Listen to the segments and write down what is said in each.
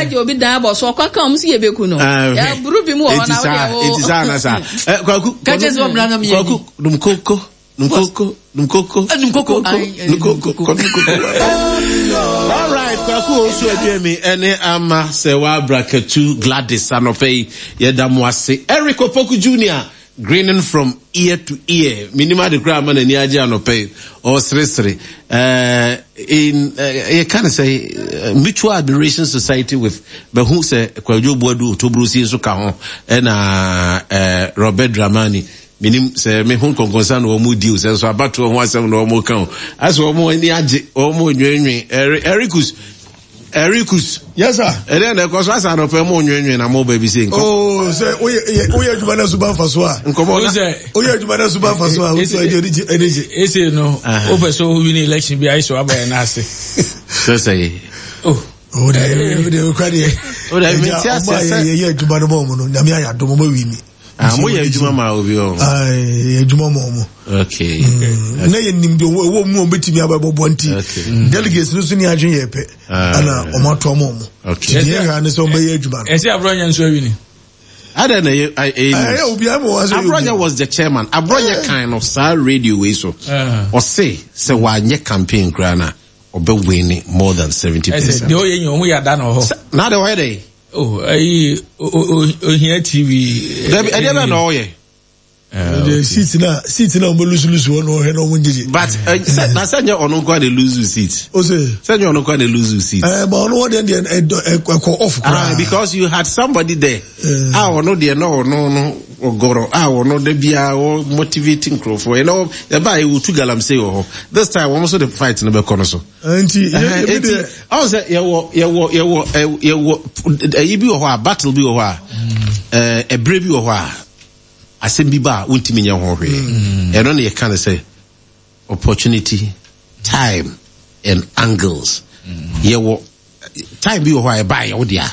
agye obi dan abɔ so ɔkɔ ka ɔmo si yɛ beku no. Yɛaburu bi mu wɔ hɔ na wodeɛ wo. Eti saa na saa. Kwaku. Kakyɛ sɛ ɔmmra na meyɛ. Kwaku dum koko. Dum koko. Dum koko. Dum koko. Dum koko. Dum koko. All right, Kwaku Osu Aduemi ɛne ama sɛ wabra katu Gladys anɔpɛ yi yɛda mo ase. Eric Opoku Junior grinning from ear to ear. Minim ade koraa ama n'ani agye anɔpɛ yi. Ɔseresere. In yɛka no sɛ Mutual Admiration Society with bɛhu sɛ Kwadwo Boadu Otobrosie nso ka ho ɛna Robert Dramani. Minim sɛ me ho nkɔnkɔnsa na wɔn di o, sɛ nso abatoɔ ho asɛm na wɔn ka o. Asɛ wɔn ani agye, wɔn nwenwen. Erikus, Erikus. Yes sir. Ɛdɛ na ɛkɔ so asa anɔpɛ mo nwenwen na mo ba bi se nkɔ. Oh, sɛ woyɛ woyɛ adwuma na suba nfa so a. Nkɔmɔ na. Woyɛ adwuma na suba nfa so a, wotu ɛdi ɛdi ɛdi gye. Ese no, wopɛ sɛ wo win election bi ayɛ sɛ waba yɛn n'ase. Sɛ sɛ. Oh. O de o de o kura deɛ. O de mi ti ase sɛ. Ɔmo a yɛ adwuma no ma ɔmo no, nyame ayɛ adom ɔmo awi ni. Ah, mo yɛ adwuma ma obi ɔ. Ah, yɛ adwuma ma ɔmo. Okay. Mm. Na yɛ nim deɛ ɛwɔ mu ɔmo betumi aba ɛbɔbɔ nti. Okay. Mm. Delegates no so ni adwene yɛ pɛ. Ɛna ɔmo ato ɔmo ɔmo. Okay. Deɛ yɛ ne sɛ ɔmo bɛyɛ adwuma no. Ɛsɛ Abronye nso awi ni. Adɛn na ɛyɛ ɛyɛ news. Ɛyɛ obi ama wɔn asɛ. Abronye was the chairman. Abronye kan no saa radio wei so. Ɔse sɛ wanyɛ campaign koraa na ɔbɛ win more than 70%. Ɛsɛ deɛ ɔyɛ nyɛ ɔho yɛ ada na ɔhɔ. Na de ɔyɛ dɛ. Oh, ayi ohia TV. Dabi ɛdeɛ bɛ na ɔyɛ. The seat na seat na ɔmo lusu lusu hɔ na ɔhwɛ na ɔmo ngyegye. But sɛ na sɛ nyɛ ɔno nko na lose seat. O se. Sɛ nyɛ ɔno nko na lose seat. Ɛɛ ba ɔno wɔ deɛ deɛ ɛdɔ ɛkɔ off koraa. Ah, because you had somebody there. A ɔno deɛ na ɔno no ɔgɔrɔ a ɔno da biara wɔ motivate nkurɔfoɔ. Ɛna ɛba a ɛwɔ tu galamsey wɔ hɔ. This time wɔn nso de fight no bɛkɔ no so. Nti ebi deɛ. Ɔn sɛ yɛwɔ yɛwɔ yɛwɔ yɛwɔ ɛyi bi wɔ hɔ a battle bi wɔ hɔ a ɛɛ ɛbrɛ bi wɔ hɔ a asɛm bi ba a wontumi nyɛ ho hwee. Ɛno na yɛka no sɛ opportunity, time and angles. Yɛwɔ time bi wɔ hɔ a ɛba a yɛwo dea.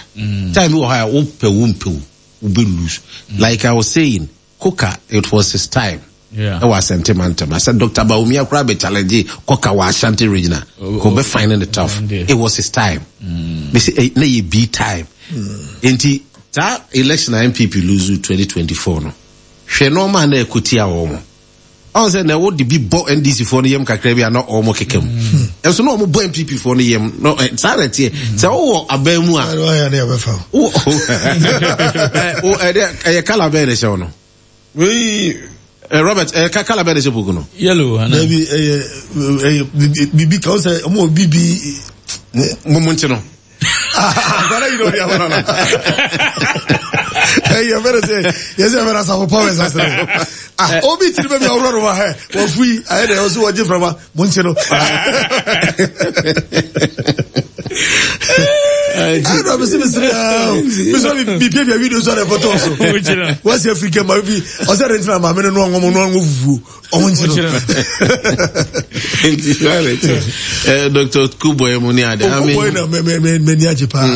Time bi wɔ hɔ a wopɛ wo mpɛ wo wobɛ lose. Like I was saying, Koka it was his time. Ɛwɔ Asante mantam. Asɛ Dr. Bawumia koraa bɛ challenge Koka wɔ Ashanti regional. Kò bɛ find it tough. It was his time. Mesi eh, na yɛ B time. Nti saa election a NPP lose 2024 no, hwɛ nneɛma a na ɛkɔ tia wɔn. Ɔn sɛ na wɔde bi bɔ NDC foɔ no yam kakra bi a na wɔn keka mu. Ɛnso na wɔn bɔ NPP foɔ no yam. No, saa na ɛteɛ. Sɛ wowɔ aban mu a. Ɛyɛ kala bɛn na ɛhyɛ wo no? Wei. Robert, ɛyɛ kala bɛn na ɛhyɛ poku no? Yellow. Ana? Dabi ɛyɛ ɛyɛ bibi kan sɛ ɔmo wɔ bibi. Mo mo nkye no. Akwadaa yi na ɔde ama no. Ɛyɛ fɛrɛ sɛ yɛ sɛ fɛrɛ asafo powers ase no. Ah, obi tiri bɛ bi awura no wa hɛ wɔfui ayɛ dɛ ɔsi wɔgye fɛrɛ mo nkye no. Ɛna mi si mi siri aa mi sɔ mi pie pie video sɔ de fɔtɔ so. Wɔsi efiri kɛ maa bi ɔsɛ de ntina maame no no ɔŋɔmɔ no ɔŋɔ fufuo. Ɔmo nkyi no. Nti sáré Dr. Kuboy mu ni ade. Okuboy na mɛ mɛ mɛ mɛ ni agye paa.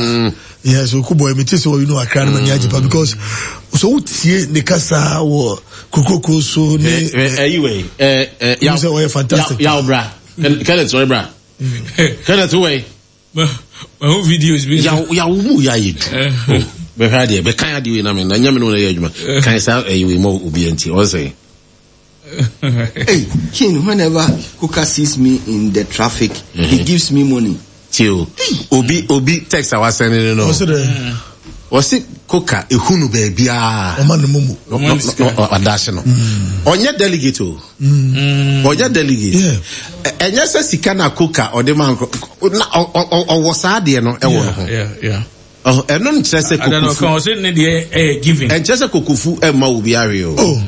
Yes, Okuboy mi ti sɛ ɔyi no akra no mɛ ni agye paa because so o tie ne kasa wɔ kurokuro so ne. Ɛyi wɛ ɛ ɛ yaw sɛ ɔyɛ fantastic. Yaw bra Kenneth sɔrɔ bra Kenneth wɛ. Mahu videos bi. Yaw yaw mu yɛ ayɛ du. Bɛhwɛ adeɛ bɛkan adeɛ wei na me na nyɛ me no na yɛ adwuma. Kan saa ɛyi wei ma obi nti ɔsɛ. Hey, King, whenever Kuka sees me in the traffic, mm-hmm. he gives me money. Tio, obi obi text a wasɛn ne no. Ɔsɛ dɛ. Ɔsi Kuka ehunu baabiara. Ɔma ne mumu. Ɔdaase no. Ɔnyɛ delegate o. Ɔnyɛ delegate. Ɛnyɛ sɛ sika na Kuka ɔde ma nkorɔ na ɔwɔ saa adeɛ no ɛwɔ no ho. Ɛno nkyerɛ sɛ kokofu. Ɛnkyerɛ sɛ kokofu ɛmma obi awe o. Oh.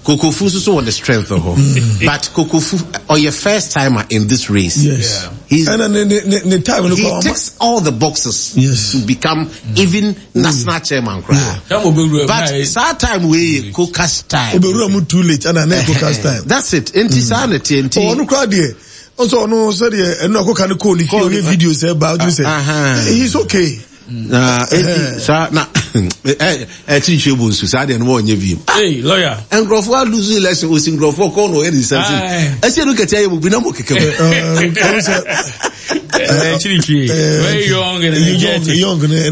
Kokofu nso so wɔ the strength wɔ hɔ. But Kokofu ɔyɛ first timer in this race. Yes. He's, Ɛna ne ne ne ne time no he kɔ ama. ticks all the boxes Yes. to become even national chairman koraa. But saa time wei yɛ Kokas time. Obewura mu too late ɛna na ɛkɔ cast time. That's it. Nti saa na ɛteɛ nti. Ɔno koraa deɛ ɔsɛ ɔno sɛdeɛ ɛno akɔka no kɔɔ ne fie ɔyɛ video sɛ ɛba ɔtumi sɛ he's okay. Na eti saa na ɛ ɛ kyirikyiri bu nsu saa deɛ no wɔnyɛ bi. Hey lawyer. Nkurɔfoɔ alusu election osi nkurɔfoɔ kɔn na ɔyɛ ne nsa si. Ɛsɛ ɛnu kɛtɛ ayɛ mu bi na mo keka mu. Kyirikyiri very young and energetic. Young.